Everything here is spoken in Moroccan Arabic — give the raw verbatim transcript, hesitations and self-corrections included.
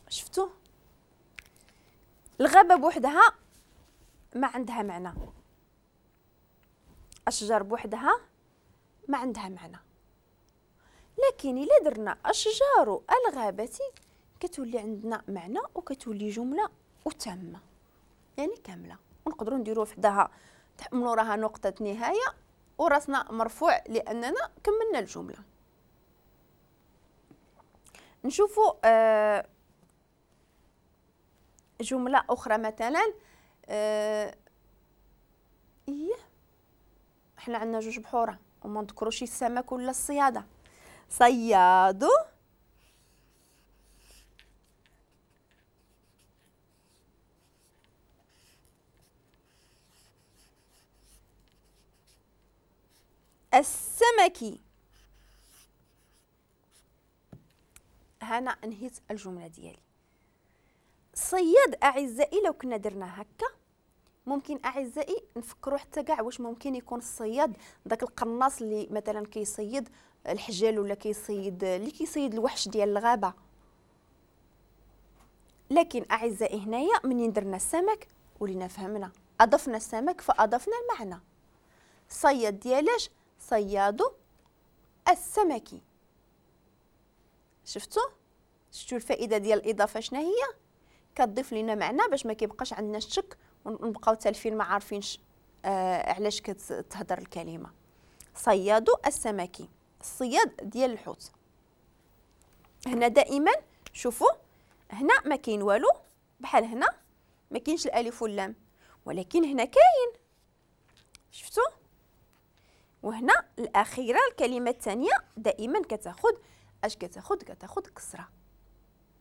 شفتوا الغابة بوحدها ما عندها معنى، أشجار بوحدها ما عندها معنى، لكن إلا درنا أشجار الغابة كتولي عندنا معنى وكتولي جملة وتامة يعني كاملة، ونقدروا نديروا وحدها من وراها نقطة نهاية وراسنا مرفوع لأننا كملنا الجملة. نشوفوا آه جملة أخرى مثلا، آه إيه احنا عندنا جوج بحورة وما نذكروش السمك ولا الصيادة. صياد السمكي. هنا انهيت الجملة ديالي. صياد أعزائي لو كنا درنا هكا ممكن أعزائي نفكروا حتى كاع واش ممكن يكون الصياد داك القناص اللي مثلا كيصيد الحجال ولا كيصيد اللي كيصيد الوحش ديال الغابة. لكن أعزائي هنايا منين درنا السمك ولينا فهمنا، أضفنا السمك فأضفنا المعنى. صياد ديالاش؟ صياد السمكي. شفتوا؟ شفتوا الفائدة ديال الإضافة شنو هي؟ كتضيف لنا معنى باش ما كيبقاش عندنا الشك ونبقاو تالفين ما عارفينش آه علاش كتهضر الكلمة. صياد السمكي، الصياد ديال الحوت. هنا دائما شوفوا هنا ما كاين والو، بحال هنا ما كاينش الالف واللام، ولكن هنا كاين. شفتوا؟ وهنا الاخيرة الكلمة الثانية دائما كتاخذ اش كتاخذ؟ كتاخذ كسره.